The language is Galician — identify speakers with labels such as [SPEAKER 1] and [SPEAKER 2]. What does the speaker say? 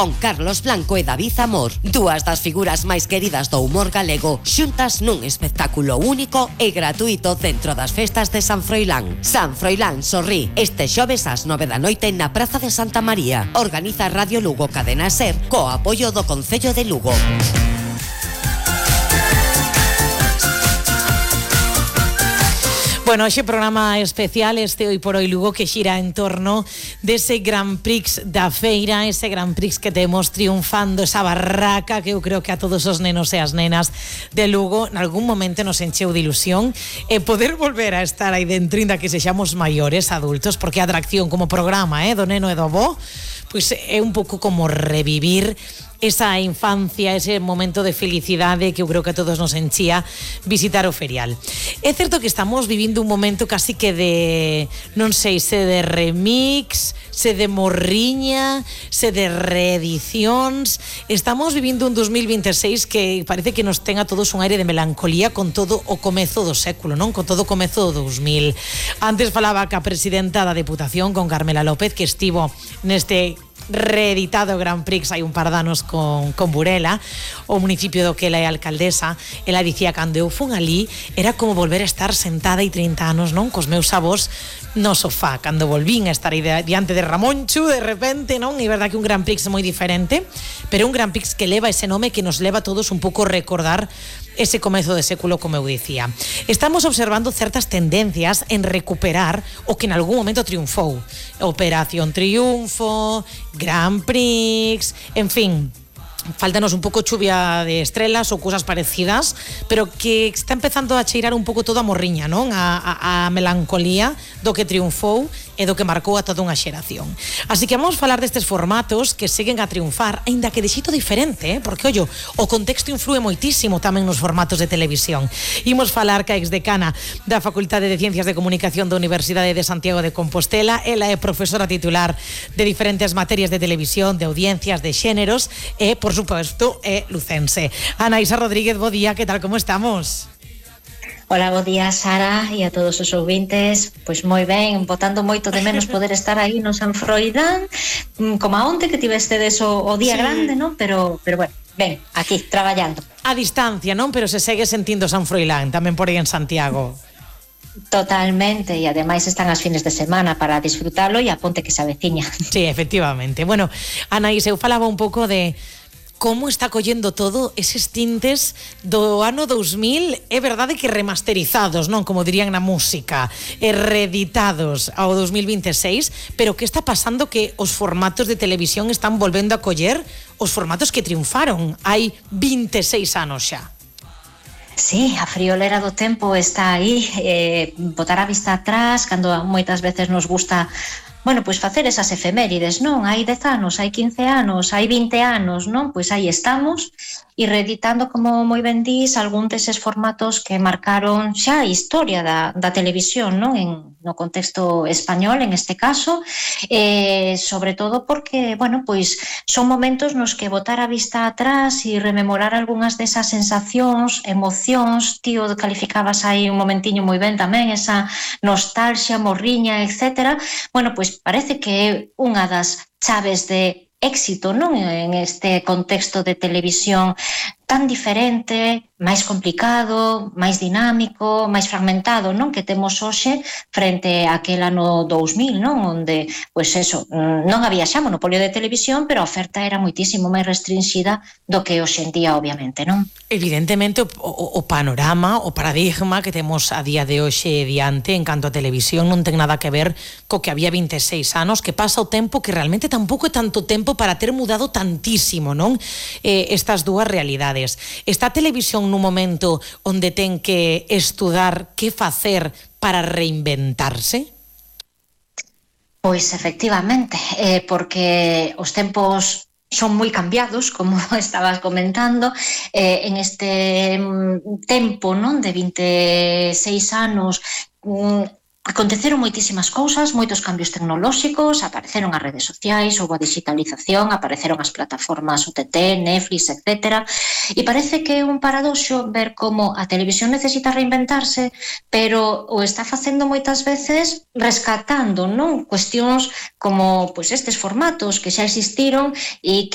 [SPEAKER 1] con Carlos Blanco e David Amor, dúas das figuras máis queridas do humor galego, xuntas nun espectáculo único e gratuito dentro das festas de San Froilán. San Froilán sorrí este xoves ás 9 da noite na Praza de Santa María. Organiza Radio Lugo Cadena Ser co apoio do Concello de Lugo.
[SPEAKER 2] Bueno, hoxe programa especial este Hoy por Hoy Lugo que xira en torno dese Grand Prix da feira, ese Grand Prix que temos triunfando, esa barraca que eu creo que a todos os nenos e as nenas de Lugo en algún momento nos encheu de ilusión e poder volver a estar aí dentro inda que sexamos maiores, adultos, porque a atracción como programa do neno e do avó pois é un pouco como revivir esa infancia, ese momento de felicidade que eu creo que a todos nos enchía visitar o ferial. É certo que estamos vivindo un momento casi que de, non sei, se de remix, se de morriña, se de reedicións. Estamos vivindo un 2026 que parece que nos ten a todos un aire de melancolía con todo o comezo do século, non? Con todo o comezo do 2000. Antes falaba ca presidenta da Deputación, con Carmela López, que estivo neste reeditado Grand Prix hai un par de anos con Burela, o municipio do que ela é alcaldesa. Ela dicía, cando eu fun ali era como volver a estar sentada hai 30 anos, non? Cos meus avós no sofá, cando volvín a estar aí diante de Ramonchu de repente, non? E verdad que un Grand Prix moi diferente, pero un Grand Prix que leva ese nome que nos leva a todos un pouco a recordar ese comezo de século, como eu dicía. Estamos observando certas tendencias en recuperar o que en algún momento triunfou. Operación Triunfo, Grand Prix, en fin, faltanos un pouco chuvia de estrelas ou cousas parecidas, pero que está empezando a cheirar un pouco toda a morriña, non? A melancolía do que triunfou e do que marcou a toda unha xeración. Así que vamos falar destes formatos que seguen a triunfar, aínda que de xeito diferente, porque, ollo, o contexto influe moitísimo tamén nos formatos de televisión. Imos falar ca exdecana da Facultade de Ciencias de Comunicación da Universidade de Santiago de Compostela. Ela é profesora titular de diferentes materias de televisión, de audiencias, de xéneros e, por suposto, é lucense. Anaísa Rodríguez, bo día, que tal, como estamos?
[SPEAKER 3] Hola, bo día, Sara, e a todos os ouvintes. Pois moi ben, botando moito de menos poder estar aí no San Froilán, como a onte que tivestedes o día grande, non? Pero bueno, ben, aquí, traballando.
[SPEAKER 2] A distancia, non? Pero se segue sentindo San Froilán, tamén por aí en Santiago.
[SPEAKER 3] Totalmente, e ademais están as fines de semana para disfrutalo e a ponte que se aveciña.
[SPEAKER 2] Sí, efectivamente. Bueno, Anaís, eu falaba un pouco de como está collendo todo eses tintes do ano 2000, é verdade que remasterizados, non? Como dirían na música, e reeditados ao 2026, pero que está pasando que os formatos de televisión están volvendo a coller os formatos que triunfaron hai 26 anos xa.
[SPEAKER 3] Sí, a friolera do tempo está aí, botar a vista atrás, cando moitas veces nos gusta pois facer esas efemérides, non? Hai 10 anos, hai 15 anos, hai 20 anos, non? Pois aí estamos e reeditando, como moi ben dís, algún deses formatos que marcaron xa a historia da televisión, non? No contexto español, en este caso, sobre todo porque, pois son momentos nos que botar a vista atrás e rememorar algunhas desas sensacións, emocións, tío, calificabas aí un momentiño moi ben tamén, esa nostalgia, morriña, etcétera, pois parece que é unha das chaves de éxito, non? En este contexto de televisión tan diferente, máis complicado, máis dinámico, máis fragmentado, non? Que temos hoxe frente a aquel ano 2000, non? Onde, pois eso, non había xa monopolio de televisión, pero a oferta era moitísimo máis restringida do que hoxe en día, obviamente, non?
[SPEAKER 2] Evidentemente, o panorama, o paradigma que temos a día de hoxe diante en canto a televisión non ten nada que ver co que había 26 anos, que pasa o tempo que realmente tampouco é tanto tempo para ter mudado tantísimo, non? Estas dúas realidades. Está a televisión nun momento onde ten que estudar que facer para reinventarse?
[SPEAKER 3] Pois efectivamente, porque os tempos son moi cambiados, como estabas comentando, en este tempo, non, de 26 anos, aconteceron moitísimas cousas, moitos cambios tecnolóxicos, apareceron as redes sociais, houve a digitalización, apareceron as plataformas OTT, Netflix, etc. E parece que é un paradoxo ver como a televisión necesita reinventarse, pero o está facendo moitas veces rescatando, non, cuestións como pois estes formatos que xa existiron e que